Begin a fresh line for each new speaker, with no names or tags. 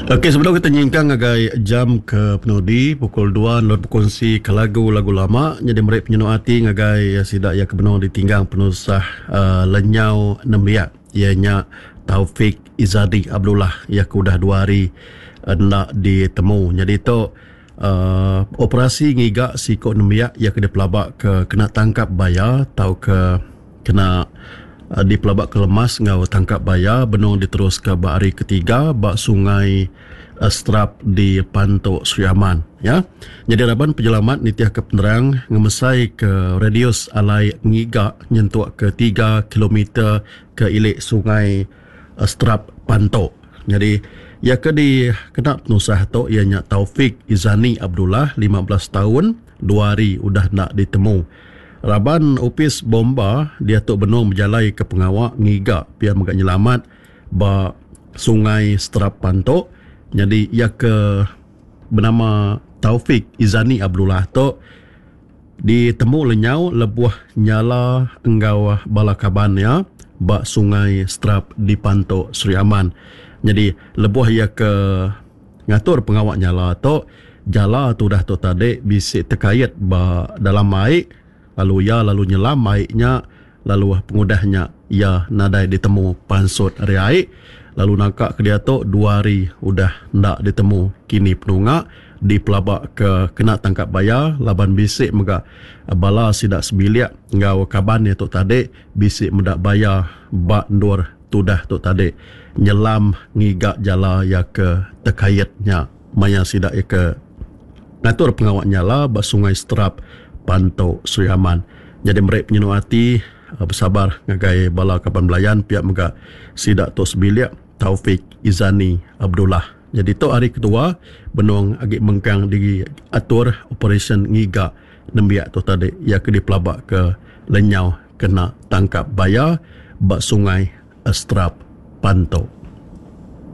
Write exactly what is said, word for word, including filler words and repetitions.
Okey, sebedau kita nyingkang ngagai jam ke penudi pukul dua endur bekunsi ke lagu-lagu lama nyadi meri penyinu ati ngagai sida iya ke benung ditinggang penusah uh, lenyau nembiak iya nya Taufik Izadi Abdullah iya ke udah dua hari enda ditemu. Nyadi tu uh, operasi ngiga siko nembiak iya ke dipelaba ke kena tangkap baya tauka kena dipelaba ke lemas enggau tangkap baya benung diteruska ba hari ketiga ba Sungai Strap di Pantu Sri Aman ya. Jadi raban penyelamat nitihka penerang ngemesai ke radius alai ngiga nyentuk ke tiga kilometer ke ilik Sungai Strap Pantu. Jadi ia ke dikena penusah tu ia nya Taufik Izani Abdullah lima belas tahun, dua hari udah nak ditemu. Raban Opis Bomba dia tu benung berjalai ke pengawa ngiga pia mega nyelamat ba Sungai Strap Pantu. Jadi ia ke bernama Taufik Izani Abdullah tu ditemu lenyau lebuh nyala enggau bala kaban ya ba Sungai Strap di Pantu Sri Aman. Jadi lebuh ia ke ngatur pengawa nyala tu, jala tu dah tu tadi bisi terkait ba dalam air, lalu ia lalu nyelam airnya, lalu pengudahnya ia nadai ditemu pansut ari air, lalu nangka ke dia tu dua hari udah ndak ditemu kini penunga dipelaba ke kena tangkap baya laban bisi mega bala sida sebilik enggau kaban dia tu tadi bisi meda baya ba endur tudah tu tadi nyelam ngiga jala ia ke terkaitnya maya sida ia ke ngatur pengawa nyala ba Sungai Strap Pantu Sri Aman. Jadi meri penyenu ati bersabar ngagai bala kaban belayan pihak mega sida tu sebilik Taufik Izani Abdullah. Jadi tu hari kedua benung agi mengkang diatur operasi ngiga nembiak tu tadi ia ke dipelaba ke lenyau kena tangkap baya ba Sungai Strap Pantu.